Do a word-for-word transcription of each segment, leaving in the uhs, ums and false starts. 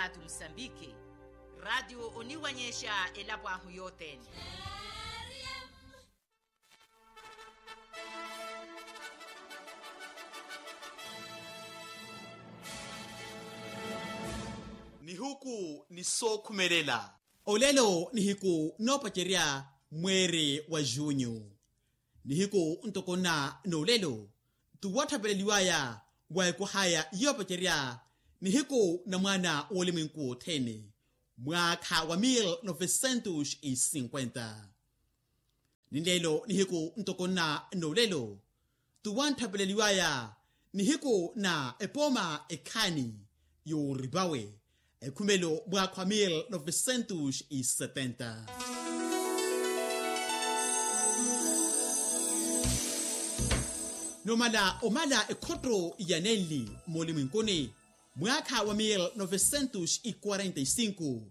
Atu musambiki. Ratio oniwanyexa elapo ahu yothene. Nihuku ni sookhumelela. Olelo nihiku noopacerya mweeri wa junyu. Nihiku ntoko nna n'olelo tuwatthapeleliwaya wa ekwahaya yoopacerya nihiku na mwaana w'olimwenku wothene, mwaakha wa mil novecentos e cinquenta. Ni lelo nihiku ntoko nna n'olelo tuwantthapeleliwaya nihiku na epooma ekhaani yooripawe ekhumelo mwaakha wa mil novecentos e setenta. Nomala omala ekhotto ya nenli moolimwenkuni mwaakha wa mil novecentos e quarenta e cinco,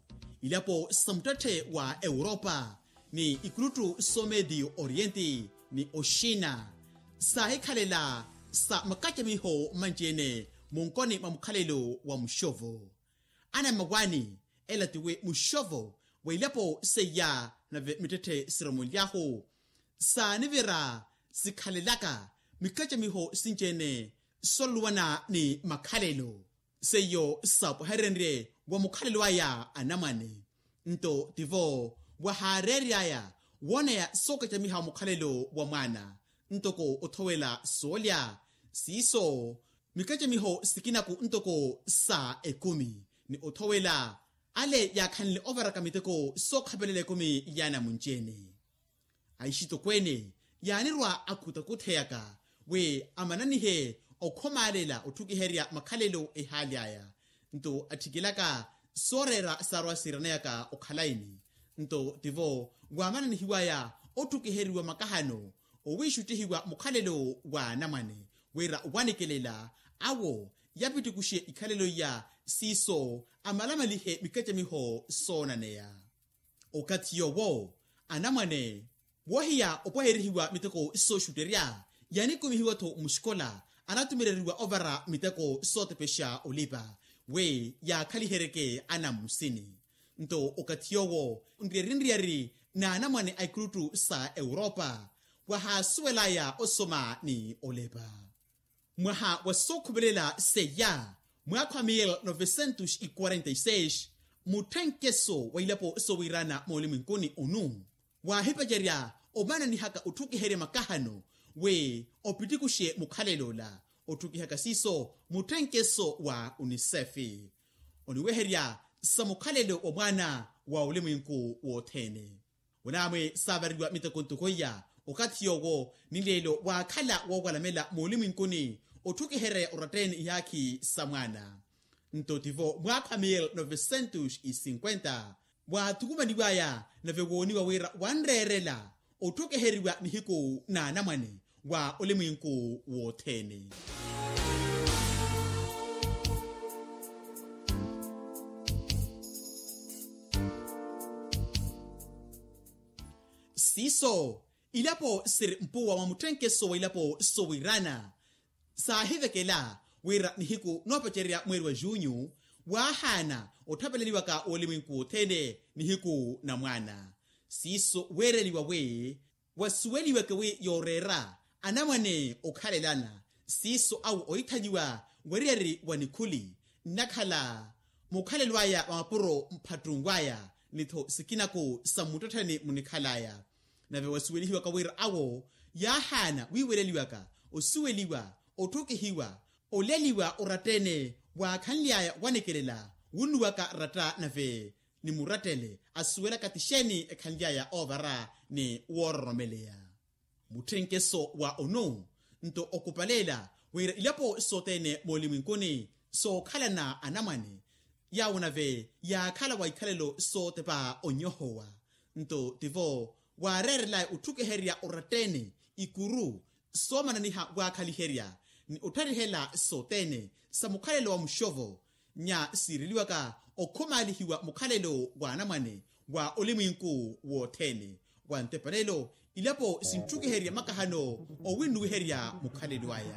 ilapo sa muttetthe wa europa ni ikuluttu so medio oriente ni oxina saahikhalela sa makacamiho manci-ene munkoni mwa mukhalelo wa muxovo. Anammawaani ela tiwi muxovo wa ilapo seiya nave mittetthe siromonly'ahu saanivira sikhalelaka mikacamiho sinci-ene soluluwana ni makhalelo seiyo saapwaherenrye wa mukhalelo aya anamwane. Nto tivo wahaareery'aya wooneya sookacamiha mukhalelo wa mwaana ntoko othowela soolya siiso mikacamiho sikinaku ntoko sa ekumi ni othowela ale yaakhanle ovaraka miteko sookhapelela ekumi y'anamunci-ene. Aixitokweene yaanirwa akhutakhutheyaka wi amananihe okhomaalela otthukiherya makhalelo ehaali aya nto atthikelaka sooreera saarwa siiraneyaka okhalayi-ni. Nto tivo waamananihiwaya otthukiheriwa makahano owiixuttihiwa mukhalelo wa anamwane wira owanikelela awo yapittikuxe ikhalelo iya siiso amalamalihe mikacamiho soonaneya. Okathi yoowo anamwane woohiya opwaherihiwa miteko sooxutterya yaanikumihiwa-tho muxikola anatumeleriwa ovara miteko sootepexa olipa wi yaakhaliheryeke anammusini. Nto okathi yoowo nriyari nriyari n'anamwane a ikuluttu sa europa wahaasuwel'aya osoma ni olepa. Mwaha wa sookhumelela seiya mwaakha wa mil novecentos e quarenta e seis mutthenkeso wa ilapo soowirana moolimwenkuni onu waahipacerya omananihaka otthukiherya makahano wi opittikuxe mukhalelo ola otthukihaka siiso mutthenkeso wa unisefi oniweherya sa mukhalelo wa mwaana wa olimwenku wothene. Wanaamwe saavareliwa miteko ntoko iya okathi yoowo ni leelo waakhala woowalamela moolimwenkuni otthukihereya oratta-ene ihaakhi sa mwaana. Nto tivo mwaakha wa mil novecentos e cinquenta waathukumaniwaya nave wooniwa wira wanreerela otthukiheriwa nihiku n'anamwane wa olimwenku wothene. Siiso ilapo siri mpuwa mwa mutthenkeso wa ilapo soowirana saahivekela wira nihiku noopacererya mweeri wa junyu waahaana otthapeleliwaka w'olimwenku wothene nihiku na mwaana. Siiso weereliwa wi wasuweliweke wi yooreera anamwane okhalelana siiso awo oithaliwa wariyari wa nikhuli nnakhala mukhalelo aya wa mapuro mphattunw'aya ni-tho sikinaku sa mmuttettheni munikhal'aya. Nave wasuwelihiwaka wira awo yaahaana wiiweleliwaka osuweliwa otthukihiwa oleliwa oratta-ene waakhanly'aya wanekelela wunnuwaka ratta nave ni murattele asuwelaka ti xeeni ekhanly'aya oovara ni woororomeleya. Mutthenkeso wa onu nto okupaleela wira ilapo sothene moolimwenkuni sookhalana anamwane yaawo nave yaakhala wa ikhalelo sootepa onyohowa. Nto tivo waareerelaya otthukiherya oratta-ene ikuru soomananiha waakhaliherya ni ottarihela sothene sa mukhalelo wa muxovo nya siireliwaka okhumaalihiwa mukhalelo wa anamwane wa olimwinku wothene wa ntepalelo ilapo sinttukiherya makahano owinnuwiherya mukhalelo aya.